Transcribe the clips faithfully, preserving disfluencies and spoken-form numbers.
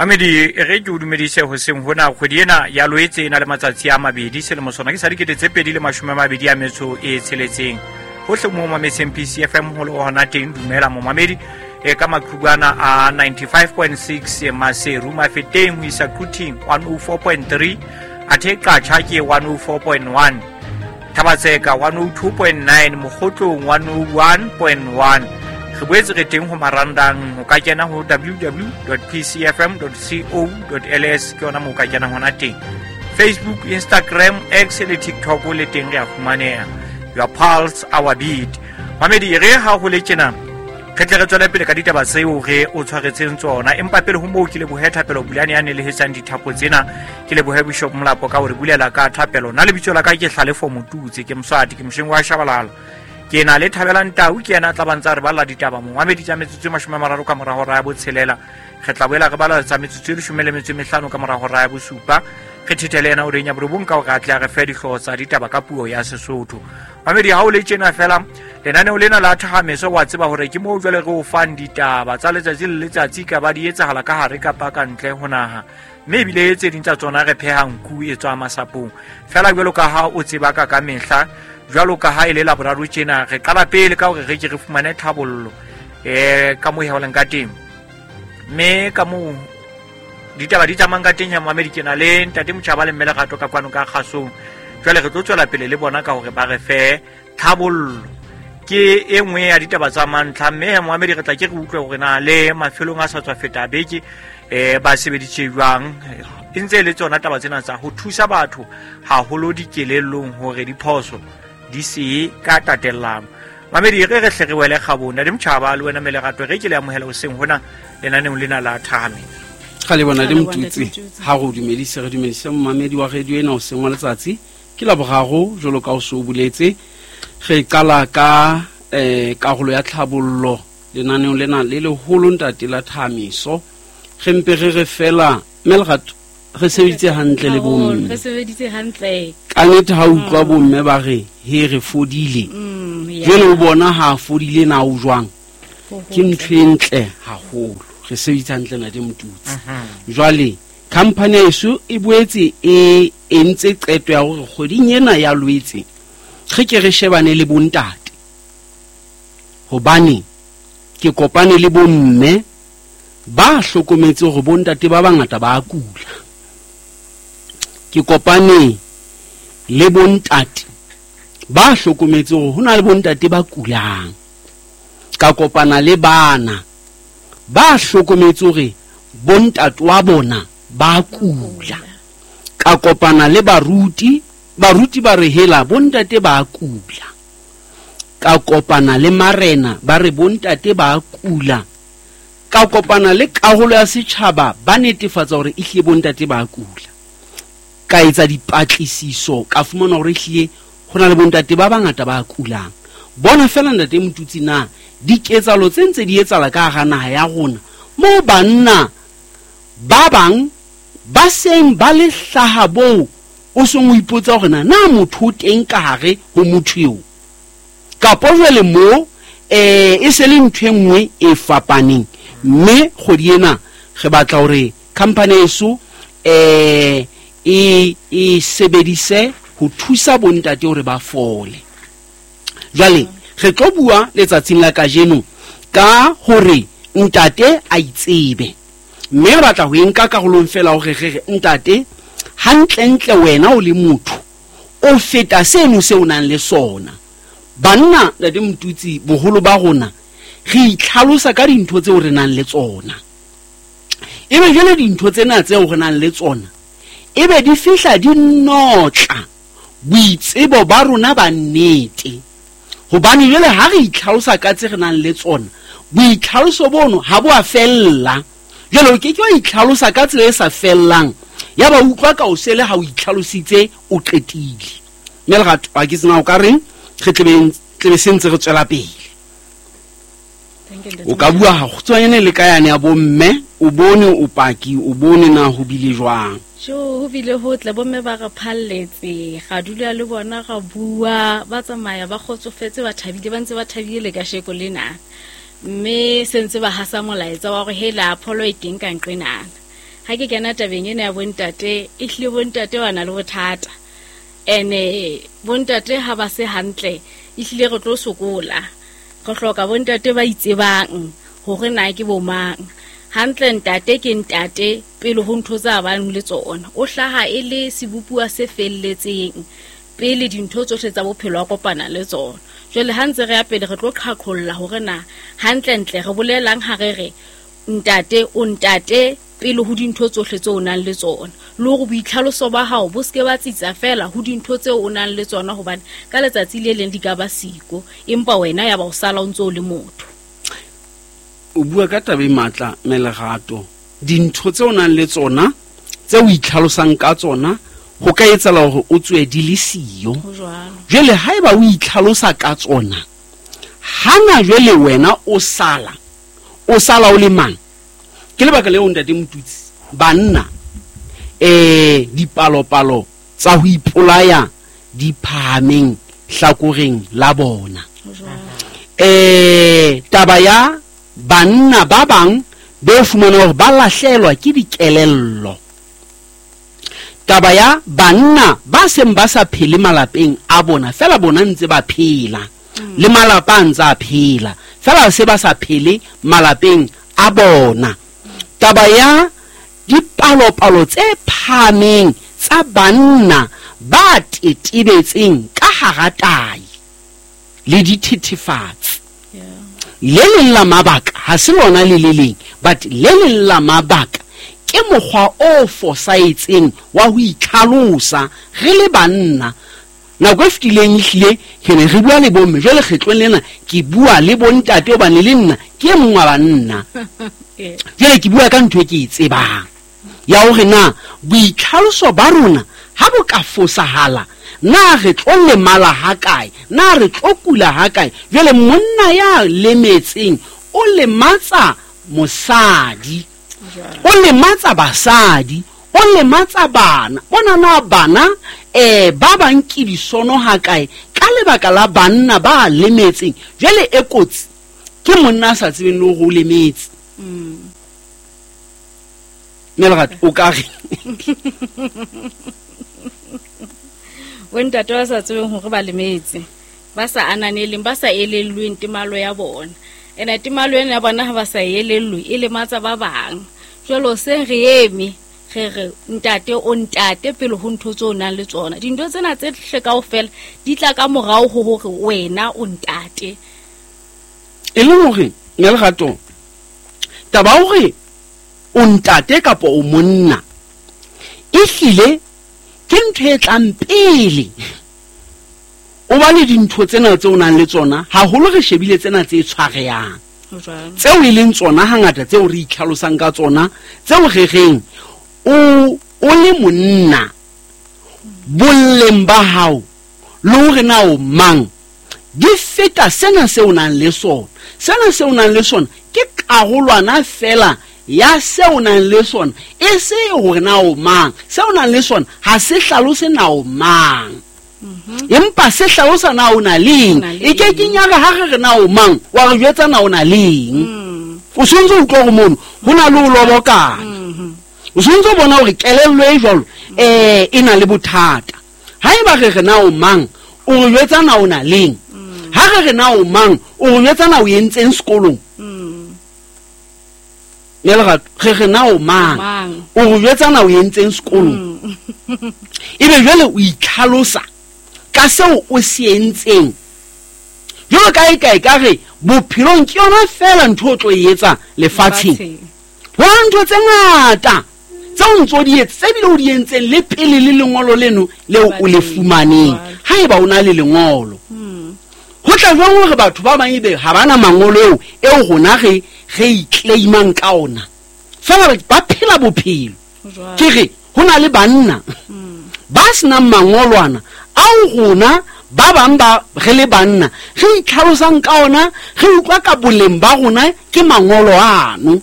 Mamedi e re ke o dumedise hoseng hona kgwedi ena ya Loetse e na le matsatsi a mabedi selemo sona ke sa dikete tse pedi le mashome a mabedi a metso e tsheletseng. Hohle mo mametseng P C F M ho le hona teng, dumela momamedi e ka maqhubana a ninety-five point six Maseru Mafeteng ho isa Quthing one oh four point three, athe Qacha ke one oh four point one, Thabatseka one oh two point nine, Mokgotlong one oh one point one. Re boetse re teng ho marandang, ho ka kena ho w w w dot p c f m dot co dot l s, ke yona moo o ka kenang hona teng. Facebook, Instagram, X le TikTok le teng re a fumaneha. Your pulse, our beat. Mamedi re ha ho le tjena, re tle re tswele pele ka ditaba tseo re o tshwaretseng tsona, empa pele ho moo ke lebohe Thapelo Bulane ya nelehetsang dithapo tsena. Ke lebohe Bishop Molapo ka hore bulela ka thapelo. Nna lebitso la ka ke Hlalefo Motutse, ke Moswati, ke mosheng wa Shabalala. Ke na le Thabelang Tau, ke yena a tla ba ntsa re balla ditaba mongwamedi tsa metsotso e mashome a mararo ka mora hora ya botshelela. Re tla boela re bala tsa metsotso e leshome le metso e mehlano ka mora hora ya bosupa. Re thethele yena o reng ya borobong ka hore a tle a re fe dihlooho tsa ditaba ka puo ya Sesotho. Mamedi ha o le tjena fela, lenaneo lena la Thahameso wa tseba hore ke moo jwale re o fang ditaba tsa letsatsi le letsatsi ka ba di etsahala ka hare kapa ka ntle ho naha. Mme ebile tse ding tsa tsona re pheha nku e tswa masapong. Fela jwalo ka ha o tseba ka ka mehla, jwalo ka ha e le Laboraro tjena, re qala pele ka hore re ke re fumane thabollo, eh, ka moo e helang ka teng. Mme ka moo ditaba di tsamayang ka teng ya Mohammed, ke na le Ntate Motjhaba le Mme Lerato ka kwano ka kgasong. Jwale re tlo tswela pele le bona ka hore ba re fe thabollo. Ke e nngwe ya ditaba tsa mantlha, mme ya Mohammed re tla ke re utlwe hore na le mafelong a sa tswa feta beke, eh, ba sebeditse jwang. E ntse e le tsona taba tsena tsa ho thusa batho haholo dikelellong hore diphoso di se ka tatellano. Mamedi re re hle re wele kgabong. Ntate Motjhaba le wena Mme Lerato, re ke le amohela hoseng hona lenaneong lena la Thahameso. Ga le bona le Ga le bona Motutsi. Motutsi. Ha re dumedise, re dumedise momamedi wa radio ena hoseng wa letsatsi. Ke Laboraro jwalo ka o so boletse. Re qala ka, eh, karolo ya tlhabollo lenaneong lena le leholo ntate la Thahameso. Re mpe re re fela Mme Lerato, re sebeditse hantle le Haholo, bomme. re sebeditse hantle. Ka nnete ha utlwa Mm. bomme ba re he re fodile. Mm, ya. Jwale o bona ha a fodile na o jwang? Ho Ke hotle. ntho e ntle haholo. Re sebeditse hantle ntate Motutsi. Mhm. Jwale company ya heso e boetse e entse qeto ya hore kgweding ena ya Loetse re ke re shebane le bontate. Hobane ke kopane le bomme ba hlokometse hore bontate ba bangata ba a kula. Ke kopane le bontate ba hlokometse hore ho na le bontate ba kulang. Ka kopana le bana ba hlokometse hore bontate wa bona ba kula. Ka kopana le baruti, baruti ba re hela bontate ba kula. Ka kopana le marena ba re bontate ba kula. Ka kopana le karolo ya setjhaba ba netefatsa hore ehlile bontate ba kula. Ka etsa dipatlisiso, ka fumana hore ehlile ho na le bontate ba bangata ba kulang. Bona fela ntate Motutsi na diketsahalo tse ntse di etsahala ka hara naha ya rona, moo banna ba bang ba seng ba le hlaha boo o seng o ipotsa hore na, na motho o teng ka hare ho motho eo, kapo jwale moo, eh, e se le ntho e nngwe e fapaneng. Mme kgwedi ena re batla hore company eso, eh, e, e sebedise ho thusa bontate hore ba fole. Jwale re tlo bua letsatsing la kajeno ka hore ntate a itsebe, mme re batla ho e nka karolong fela hore re re ntate hantlentle wena o le motho o feta seno seo o nang le sona. Banna ntate Motutsi, boholo ba rona re itlhalosa ka dintho tseo re nang le tsona. Ebe jwale dintho tsena tseo re nang le tsona ebe di fihla di notla boitsebo ba rona ba nnete. Hobane jwale ha re itlhalosa ka tse re nang le tsona, boitlhaloso bono ha bo a fella. Jwale o ke ke wa itlhalosa ka tsela e sa fellang, ya ba utlwa ka o sele ha o itlhalositse o qetile. Mme Lerato, ha ke tsena o ka reng, re tlebe, tlebe se ntse re tswela pele. Thank you, Ntate O ka bua hakgutshwanyane le ka yane ya bomme, o bone o paki, o bone na ho bile jwang. Jo, ho bile hotle, bomme ba re phalletse, ra dula le bona, ra bua, ba tsamaya ba kgotsofetse, ba thabile, ba ntse ba thabile le kasheko lena. Mme se ntse ba hasa molaetsa wa hore hela pholo e teng ka nqenana. Ha ke kena tabeng ena ya bontate, e hlile bontate ba na le bothata. Ene bontate ha ba se hantle, e hlile re tlo sokola. Re hloka bontate ba itsebang hore na ke bo mang. Hantle ntate ke ntate pele ho ntho tsa bang le tsona. O hlaha e le sebopuwa se felletseng pele dintho tsohle tsa bophelo a kopana le tsona. Jwale ha ntse re ya pele re tlo qhaqholla hore na hantle ntle re bolelang ha re re ntate o ntate pele ho dintho tsohle tseo o nang le tsona. Le hore boitlhaloso ba hao bo ske ba tsitsa fela ho dintho tseo o nang le tsona, hobane ka letsatsi le leng di ka ba siko, empa wena ya ba o sala o ntse o le motho. O bua ka taba e matla Melerato. Dintho tseo o nang le tsona tse o itlhalosang ka tsona ho ka etsahala hore o tswe di le siyo. Jwale haeba o itlhalosa ka tsona, hana jwale wena o sala o sala o le mang? Ke lebaka leo ntate Motutsi, banna eh dipalopalo tsa ho ipolaya di phahameng hlakoreng la bona. Eh taba ya banna ba bang be fumana hore ba lahlelwa ke dikelello. Taba ya banna ba seng ba sa phele malapeng a bona, fela bona ntse ba phela le malapa a ntse a phela, fela se ba sa phele malapeng a bona. Taba ya dipalopalo tse phahameng tsa banna ba tetebetseng ka hara tayi le dithethefatsi. Le leng la mabaka ha se lona le le leng, but le leng la mabaka ke mokgwa o fosahetseng wa ho itlhalosa re le banna. Nako e fetileng ehlile ke ne re bua le bomme, jwale kgetlong lena ke bua le bontate hobane le nna ke e mong wa banna. Jwale ke bua ka ntho e ke e tsebang ya hore na boitlhaloso ba rona ha bo ka fosahala, na re tlo lemala ha kae, na re tlo kula ha kae. Jwale monna ya lemetseng o lematsa mosadi, o lematsa basadi, o lematsa bana. Bona na bana eh ba bang ke disono ha kae ka lebaka la banna ba lemetseng. Jwale e kotsi ke monna a sa tsebeng le hore o lemetse. Melerato o ka re bontate ba sa tsebeng hore ba lemetse, ba sa ananeleng, ba sa elellweng temalo ya bona. Ene temalo ena ya bona ha ba sa elellwe e lematsa ba bang. Jwale seng re eme re re ntate o ntate pele ho ntho tseo o nang le tsona. Dintho tsena tse hle kaofela di tla ka morao ho hore wena o ntate. E le hore Melerato, taba hore o ntate kapa o monna ehlile ke ntho e tlang pele. O ba le dintho tsena tse o nang le tsona, haholo re shebile tsena tse tshwarehang, tseo e leng tsona hangata tseo re itlhalosang ka tsona, tseo re reng o o le monna boleng ba hao le hore na o mang di feta sena seo o nang le sona. Sena seo o nang le sona ke karolwana fela ya seo o nang le sona, e se hore na o mang. Seo o nang le sona ha se hlalose na o mang, empa se hlalosa na o na leng. E ke ke nyaka ha re re na o mang, wa re jwetsa na o na leng. O sontse o utlwa hore mono ho na le o lobokana. O sontse o bona hore kelello e jwalo eh e na le bothata. Haeba re re na o mang, o re jwetsa na o na leng. Ha re re na o mang, o re jwetsa na o entseng sekolong. Melerato, re re na o mang, o re jwetsa na o entseng sekolong. Ebe jwale o itlhalosa ka seo o se entseng. Jwalo kae kae ka re bophelong ke yona fela ntho o tlo e etsa lefatsheng. Ho na ntho tse ngata tseo o ntso di etsa, tse bile o di entseng le pele le lengolo leno leo o le fumaneng. Haeba o na le lengolo, ho tla jwang hore batho ba bang ebe ha bana mangolo eo eo rona re re iclaimang ka ona, fela ba phela bophelo. Ke re ho na le banna ba senang mangolwana ao rona ba bang ba re le banna re itlhalosang ka ona, re utlwa ka boleng ba rona ke mangolo ano.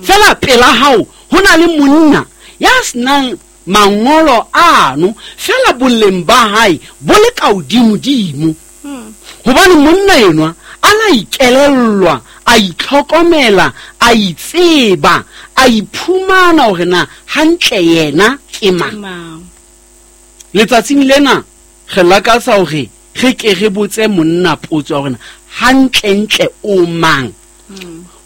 Fela pela hao ho na le monna ya senang mangolo ano, fela boleng ba hae bo le ka hodimodimo. Hobane monna enwa a la ikelellwa, a itlhokomela, a itseba, a iphumana hore na hantle yena ke mang. Letsatsing lena re lakatsa hore re ke re botse monna potso ya hore hantlentle o mang.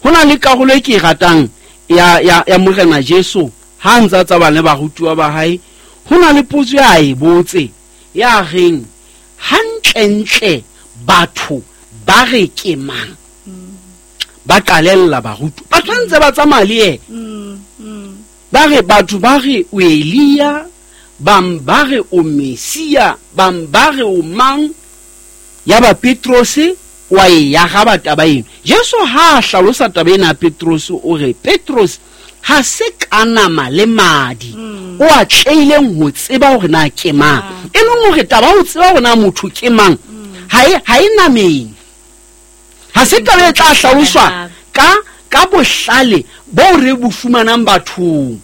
Ho na le karolo e ke e ratang ya ya ya Morena Jesu ha ntsa tsa bana ba rutuwa ba hae, ho na le potso ya e botse ya reng hantlentle batho ba re ke mang. Ba qalella barutu ba tshwantse ba tsamaya le yena. Ba re batho ba re o Elia, bang ba re o Messia, bang ba re o mang. Ya ba Petrose wa e ya ga ba taba eno. Jesu ha a hlalosa taba ena Petrose o re Petrose ha se ka nama le madi o a tleileng ho tseba hore na ke mang. E leng hore taba ho tseba hore na motho ke mang ha e ha e nameng. Ha se taba e tla hlaloswa ka ka bohlale bo re bo fumanang bathong.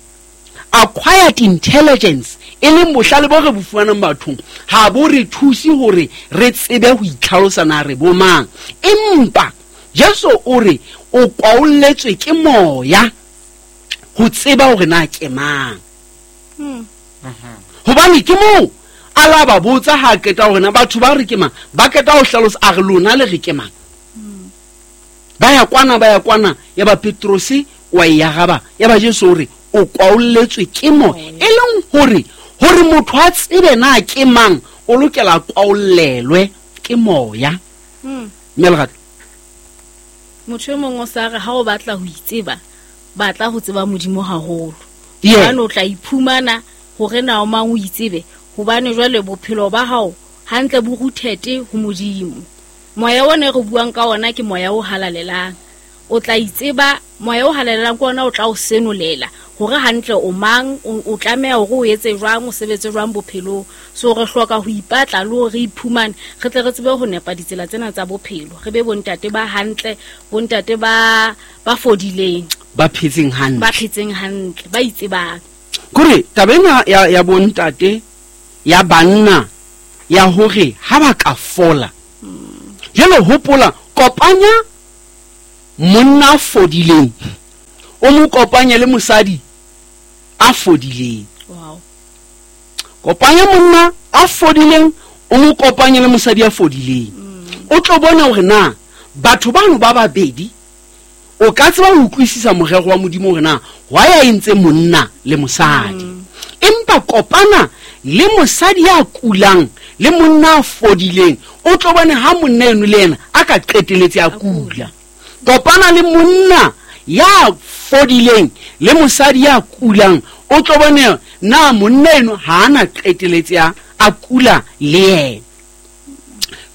Acquired intelligence e leng bohlale bo re bo fumanang bathong ha bo re thuse hore re tsebe ho itlhalosa na re bo mang. Empa Jesu o re o kwaolletswe ke moya ho tseba hore na ke mang. Hobane ke moo a la ba botsa ha qeta hore na batho ba re ke mang, ba qeta ho hlalosa a re lona le re ke mang. Ba ya kwana ba ya kwana ya ba Petrose wa e araba, ya ba Jesu o re o kwaolletswe ke moya. E leng hore hore motho a tsebe na ke mang o lokela kwaollelwe ke moya. Mme Lerato, motho e mongwe o sa re ha o batla ho itseba, batla ho tseba Modimo haholo. Hobane o tla iphumana hore na o mang o itsebe, hobane jwale bophelo ba hao hantle bo ruthete ho Modimo. Moya ona re buang ka ona ke moya o halalelang. O tla itseba, moya o halalelang ke ona o tla o senolela hore hantle o mang, o tlameha hore o etse jwang, o sebetse jwang bophelong. So re hloka ho ipatla le hore re iphumane, re tle re tsebe ho nepa ditsela tsena tsa bophelo. Re be bontate ba hantle, bontate ba ba fodileng, ba phetseng hantle, ba phetseng hantle, ba itsebang. Kore taba ena ya ya bontate ya banna ya hore ha ba ka fola. Jwale hopola kopanya monna a fodileng o mo kopanye le mosadi a fodileng. Wow. Kopanya monna a fodileng o mo kopanye le mosadi a fodileng. O tlo bona hore na batho bano ba babedi o ka tseba ho utlwisisa morero wa Modimo hore na wa ya entse monna le mosadi. Empa kopana le mosadi ya kulang le monna a fodileng, o tlo bona ha monna eno le yena a ka qeteletse a kula. Kopana le monna ya fodileng le mosadi ya kulang, o tlo bona na monna eno ha ana qeteletse a kula le yena.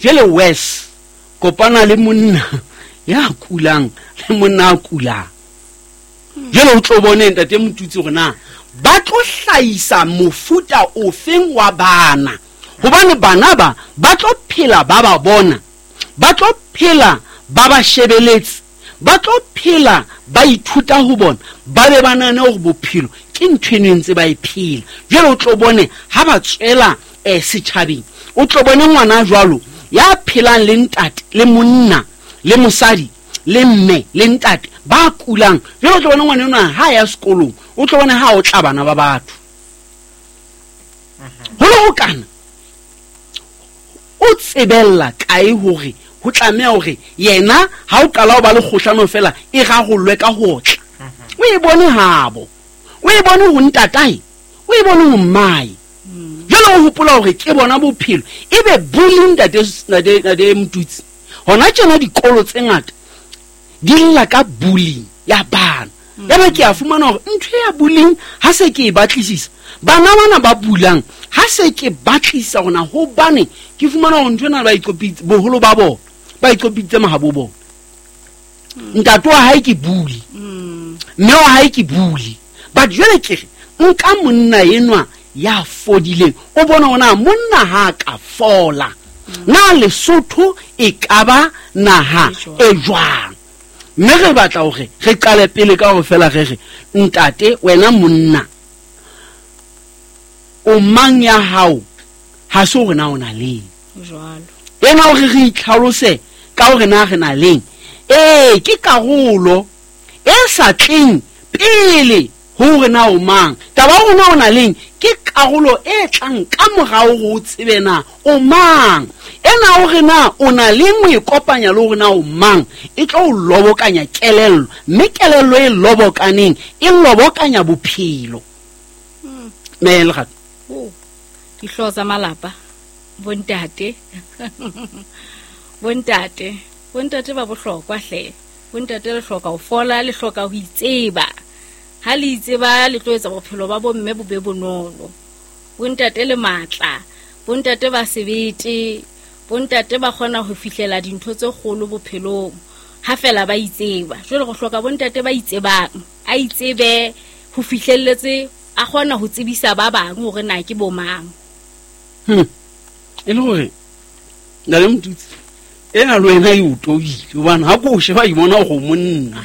Jwale wes kopana le monna ya kulang le monna a kulang. Jwale o tlo bona ntate Motutsi hore na ba tlo hlahisa mofuta ofeng wa bana. Hobane bana ba ba tlo phela ba ba bona, ba tlo phela ba ba shebeletse, ba tlo phela ba ithuta ho bona, ba be ba nahane hore bophelo ke ntho e ntse ba e phela. Jwale o tlo bone ha ba tswela eh setjhabeng, o tlo bone ngwana jwalo ya phelang le ntate le monna le mosadi le mme le ntate ba kulang. Jwale o tlo bone ngwana enwa ha ya sekolong, o tlo bone ha o tla bana ba batho. Ho le ho kana o tsebella kae hore ho tlameha hore yena ha o qala ho ba le kgohlano fela e rarollwe ka ho tla. O e bone habo, o e bone ho ntatae, o e bone ho mmae. Jwale o hopola hore ke bona bophelo ebe bullying ntate ntate Motutsi. Hona tjena dikolo tse ngata di lla ka bullying ya bana. Ya ba ke a fumana hore ntho ya bullying ha se ke e batlisisa, bana bana ba bulang ha se ke batlisisa hona hobane ke fumana hore ntho ena ba iqopitse boholo ba bona, ba iqopitse mahabo bona. Ntate wa hae ke bully, mme wa hae ke bully. But jwale ke re nka monna enwa ya fodileng, o bona hona monna ha ka fola na Lesotho e ka ba naha e jwang. Mme re batla hore re qale pele ka hore fela re re ntate wena monna o mang ya hao ha se hore na o na leng jwalo ena hore re itlhalose ka hore na re na leng Ee, ke karolo e sa tleng pele hore na o mang. Taba ya hore na o na leng ke karolo e tlang ka morao hore o tsebe na o mang. Ena hore na o na leng o e kopanya le hore na o mang, e tlo o lobokanya kelello, mme kelello e lobokaneng e lobokanya bophelo. Mme Lerato. Oh, dihlooho tsa malapa, bontate. Bontate, bontate ba bohlokwa hle. Bontate le hloka ho fola, le hloka ho itseba. Ha le itseba le tlo etsa bophelo ba bomme bo be bonolo. Bontate le matla, bontate ba sebete, bontate ba kgona ho fihlela dintho tse kgolo bophelong ha fela ba itseba. Jwale go hloka bontate ba itsebang, a itsebe ho fihlelletse, a kgona ho tsebisa ba bang hore na ke bo mang. Hmm. E le hore na le Motutsi ena le wena e o tobile hobane ha ko o sheba e bona hore o monna.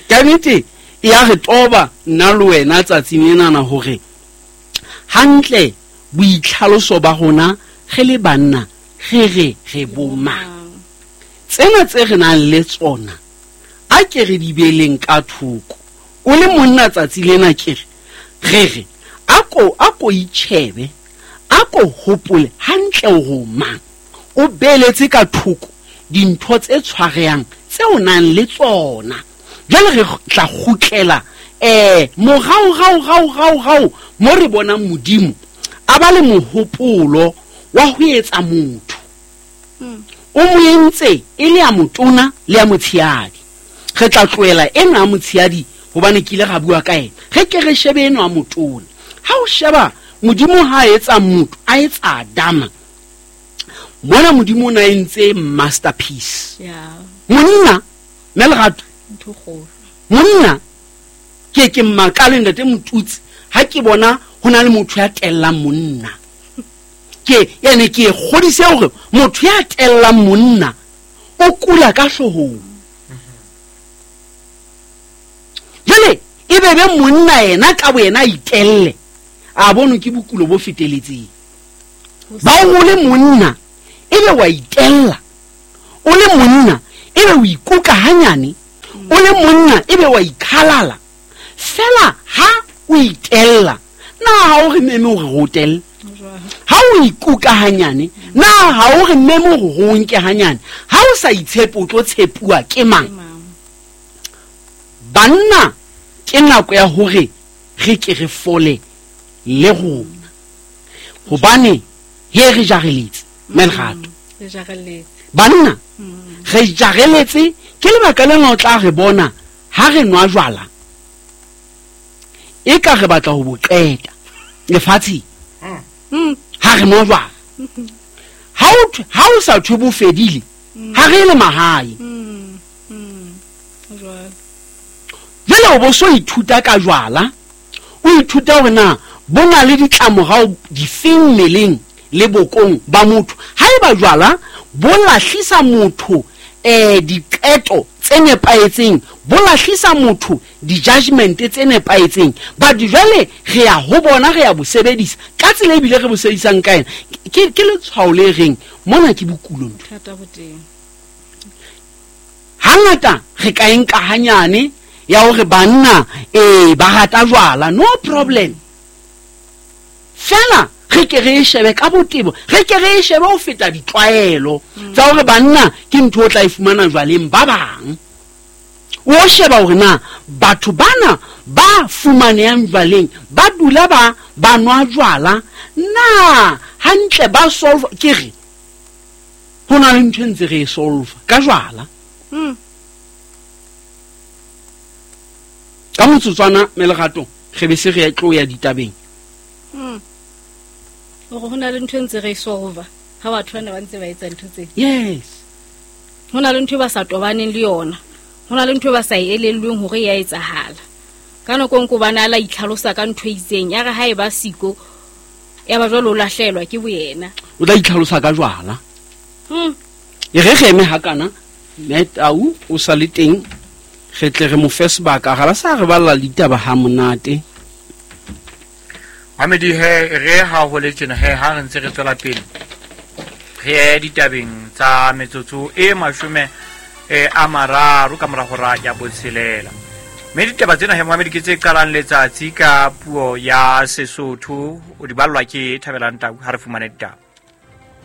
Ka nnete e ya re toba nna le wena tsatsing lenana hore hantle boitlhaloso ba rona re le banna re re re bo mang. Tsena tse re nang le tsona a ke re di beeleng ka thoko. O le monna tsatsi lena ke re re re a ko a ko itjhebe, a ko hopole hantle hore o mang. O beeletse ka thoko dintho tse tshwarehang tse o nang le tsona. Jwale re tla kgutlela eh morao rao rao rao rao mo re bonang Modimo a ba le mohopolo wa ho etsa motho. O mo entse e le ya motona le ya motshehadi. Re tla tlohela ena ya motshehadi hobane ke ile ra bua ka ena. Re ke re shebe eno ya motona. Ha o sheba Modimo ha a etsa motho, a etsa Adama. Mona Modimo o na entse masterpiece. Yeah. Monna, mme Lerato, Ntho kgolo. Monna ke ke mmakale ntate Motutsi ha ke bona ho na le motho ya tellang monna. Ke ene ke kgodise hore motho ya tellang monna o kula ka hloohong. Jwale e be be monna yena ka boyena a itelle, a bone ke bokulo bo feteletseng. Ba o le monna e be wa itella, o le monna e be o ikuka hanyane, o le monna e be wa ikhalala. Fela ha o itella, na ha o re meme hore re o telle? Ha o ikuka hanyane, na ha o re meme hore o nke hanyane? Ha o sa itshepe o tlo tshepuwa ke mang? Banna ke nako ya hore re ke re fole le rona, hobane he re jareletse mme Lerato. Re jareletse. Banna re jareletse ke lebaka lena o tla re bona ha re nwa jwala e ka re batla ho bo qeta lefatsheng. Ha re nwa jwala ha o ha o sa thwe bo fedile, ha re le mahae. Jwale o bo so ithuta ka jwala, o ithuta hore na bo na le ditlamorao difeng mmeleng le bokong ba motho. Haeba jwala bo lahlisa motho eh diqeto tse nepahetseng, bo lahlisa motho di-judgment tse nepahetseng, but jwale re ya ho bona, re ya bo sebedisa ka tsela ebile re bo sebedisang ka yena. Ke ke letshwao le reng mona ke bokulo ntho. Thata bo teng. Hangata re ka e nka hanyane ya hore banna eh ba rata jwala, no problem. Fela re ke re e shebe ka botebo, re ke re e shebe ho feta ditlwaelo tsa hore banna ke ntho o tla e fumana jwaleng ba bang. O sheba hore na batho bana ba fumanehang jwaleng ba dula ba ba nwa jwala na hantle ba solve. Ke re ho na le ntho e ntse re e solve ka jwala. Ka motsotswana mme Lerato re be se re tlo ya ditabeng. Hore ho na le ntho e ntse re e solve ha batho bana ba ntse ba etsa ntho tse. Yes. Ho na le ntho e ba sa tobaneng le yona. Ho na le ntho e ba sa e elellweng hore e a etsahala. Ka nako e nngwe hobane a la itlhalosa ka ntho e itseng, ya re ha e ba siko, ya ba jwale o lahlehelwa ke boyena. O tla itlhalosa ka jwala. Hmm. E re re eme hakana, mme Tau o sa le teng, re tle re mo fe sebaka, ga ba sa re balla ditaba ha monate. Mamedi he re ha ho le tjena he ha re ntse re tswela pele re ye ditabeng tsa metsotso e mashome e a mararo ka mora hora ya botshelela. Mme ditaba tsena he moamedi ke tse qalang letsatsi ka puo ya Sesotho, o di ballwa ke Thabelang Tau. Ha re fumane ditaba.